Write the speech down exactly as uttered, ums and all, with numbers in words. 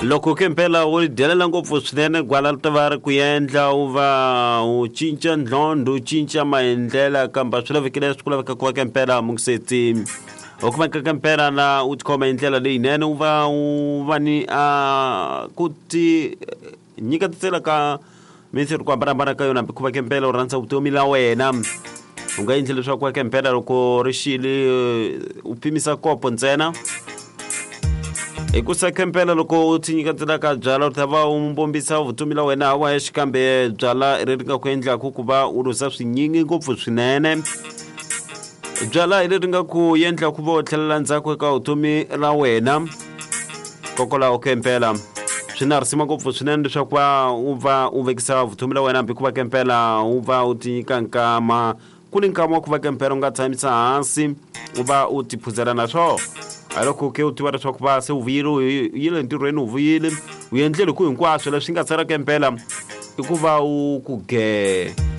Loko ke mpela u dyelela ngopfu swinene gwala ri ta va ri ku endla u va u cinca ndlondho u cinca maendlela kambe swi lavekile swi ku laveka ku va ke mpela mungisetsi u kumeka ke mpela na u tikhoma hi ndlela leyinene u va u va ni a ku ti nyiketisela ka mintirho ku hambanahambana ka yona hambi ku va ke mpela u rhandza vutomi la wena u nga endli leswaku va ke mpela loko ri xile u pimisa kopo ntsena hikusa kempela loko u ti nyiketela ka byala u ta va u mbombisa vutomi la wena hawa xikambe byala leri nga ku endlaku ku va u luza swinyingi ngopfu swinene byala hi leri nga ku endla ku va u tlhelela ndzhaku eka vutomi ra wena kokwalaho kempela swi na risima ngopfu swinene leswaku va u va u vekisa vutomi la wena hambi ku va kempela u va u ti nyika nkama ku ni nkama wa ku va kempela u nga tshamisa hansi u va u ti phuzela na swona a loko ke u tiva leswaku va se u vuyile u yile ntirhweni u vuyile u endlele ku hinkwaswo leswi nga sala kempela i ku va u ku ge.